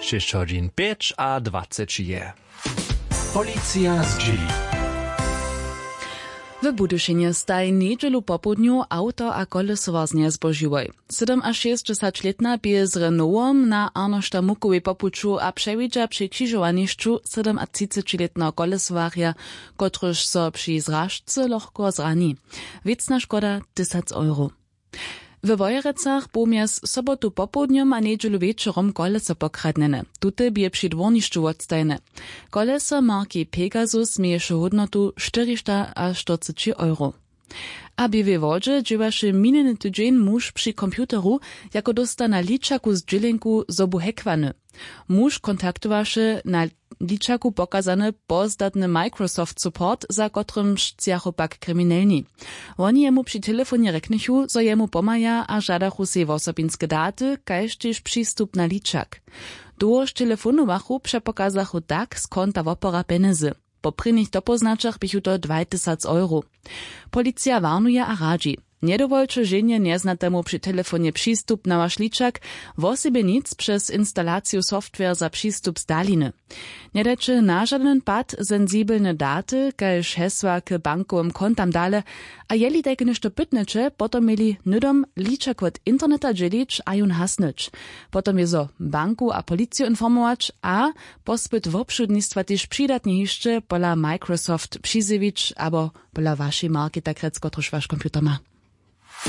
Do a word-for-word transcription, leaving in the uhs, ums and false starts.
Šěsć hodźin pjeć a dwaceći je. Policija zdźěli. W Budyšinje staj njedźelu popołdnju awto a kolesowarznje zbožiłoj. Sydomašěsćdźesaćlětna bě z Renaultom na Arnošta Mukowej po puću a přewidźa při křižowanišću sydomatřicećilětneho kolesowarja, kotryž so při zražce lochko zrani. Wěcna škoda tysac euro. We Wojerecach bu mjez sobotu popołdnjom a njedźelu wječorom koleso pokradnjene. Tute bě při dwórnišću wotstajene. Koleso marki Pegasus měješe hódnotu štyristaštyrceći euro. A w Běłej Wodźe dźěłaše minjeny tydźeń muž při computeru, jako dósta na ličaku zdźělenku, zo bu hackwany. Muž kontaktowaše na ličaku pokazany pozdatny Microsoft Support, za kotrymž sćachu pak kriminelni. Woni jemu při telefonje rjeknychu, zo jemu pomhaja, a žadachu sej wosobinske daty kaž tež přistup na ličak. Dołhož telefonowachu, přepokazachu tak z konta wopora pjenjezy. Po prěnich dopóznaćach běchu to dwaj tysac euro. Policija warnuje a radźi: njedowolće ženje njeznatemu při telefonje přistup na waš ličak, wosebje nic přez instalaciju software za přistup z daliny. Njedajće na žadyn pad sensibelne daty kaž hesła k bankowym kontam dale. A jeli tajke něšto pytnyće, potom měli hnydom ličak wot interneta dźělić a jón hasnyć. Potom wězo banku a policiju informować a pospyt wobšudnistwa tež přidatnje hišće pola Microsoft přizjewić abo pola wašej marki, tak rjec, kotruž waš computer ma.